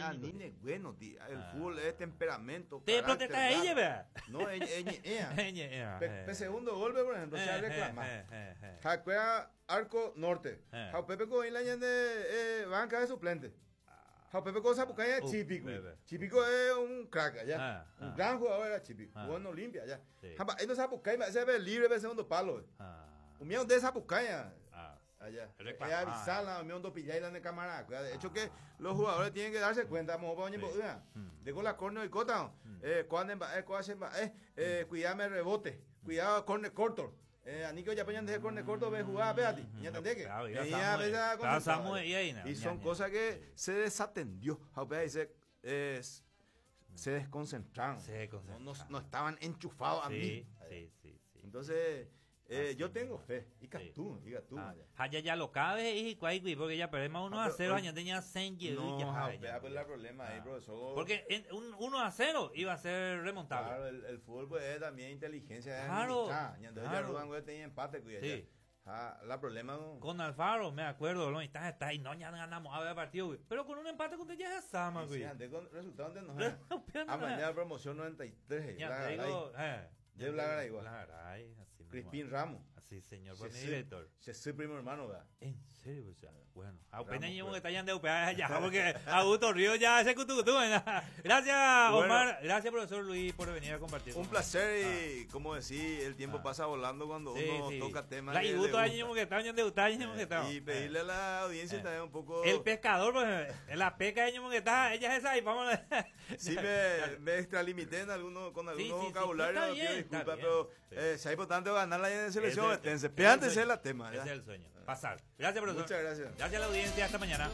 Ani ne bueno, ti, el fútbol es temperamento, Te carácter, protesta ahí, garra. lleve. No, eñe'ẽa. Eñe'ẽa, Pe, eh. pe segundo golpe, por ejemplo, se Eh, reclama. eh, eh, eh. Jacuea arco norte. Eh. Ja upépe ko oĩ la ñande eh, banca de suplente. Ja upépe ko osapukái Uh, Chipico. bebe. Chipico es un crack allá. Ah, un ah. gran jugador era Chipico. Ah. Jugó en Olimpia allá. Sí. Ja mba'e ndosapukái mba'e se ve libre pe segundo palo. Ah. Umi onde sapukái ah, Ah. allá. Reclamar. Ella avisala, umi ondopillái la ne cámara. De hecho que los jugadores tienen que darse cuenta, mopa oñembo'ýa. Mm. De con la córner oikóta, eh, kóa ne mba'e, kóa che mba'e, eh, cuidame rebote, cuidado córner corto. Eh, ani que ojapo ñande córner corto ve jugar, véati, ¿entendés que? Claro, ya Ella Samuel- a veces claro, concentrado, Samuel y ahí, na, Y son ña, ña. cosas que se desatendió. Ja, upéva dice, eh, se desconcentraron. Se desconcentraron. No, no, no estaban enchufados a Sí, mí. sí, sí, sí. Entonces, eh, Así yo tengo mismo. fe. Y tú, y tú. Ah, ja, ya, ya lo cabe y cuál, güey, porque ya perdemos 1 Ah, a pero 0, hoy- año tenía 100 No, ya, ja, ya, upéva, pues ya. la problema ahí, Ah. profesor. Porque en un 1 a 0 iba a ser remontable. Claro, el, el fútbol pues, es también inteligencia. es Claro, administrar. Ñande claro. ya Rubán, güey, tenía empate, cuida Sí. ya. Ja, la problema no. Con Alfaro, me acuerdo, lo está, está, y no, ya ganamos a ver partido, güey. Pero con un empate contra ya es Sama, Sí, güey. antes con resultado antes no. Pero no A mañana promoción 93. Ya Bla te Garay. digo, eh. De Bla Garay, igual. Bla Garay, así mismo. Crispín Ramos. Así, señor, Se fue mi soy- director. Se soy primo hermano, ¿verdad? En serio, o sea, bueno, apenas Ramos, llevo pues. que está ya de UPA ya, porque Augusto Río ya ese cutucutú. ¿verdad? Gracias, Bueno. Omar. Gracias, profesor Luis, por venir a compartir. Un con placer y, como decís, el tiempo Ah. pasa volando cuando Sí, uno sí. toca temas. La que y le gusto gusta. año que está, año de UTA, año que está. Y pedirle a la audiencia Eh. también un poco. El pescador, pues, en la pesca de año que está, ella es esa y vamos a... Sí, me, me extralimité en alguno, con Sí, algunos sí, sí, vocabularios, está no bien, pido está disculpas, bien. pero Sí. eh, si hay importante ganar la en selección, Ese es el- esténse. ese es el Piántense sueño. la tema. Ese ya. es el sueño. Pasar. Gracias, profesor. Muchas gracias. Gracias a la audiencia. Hasta mañana.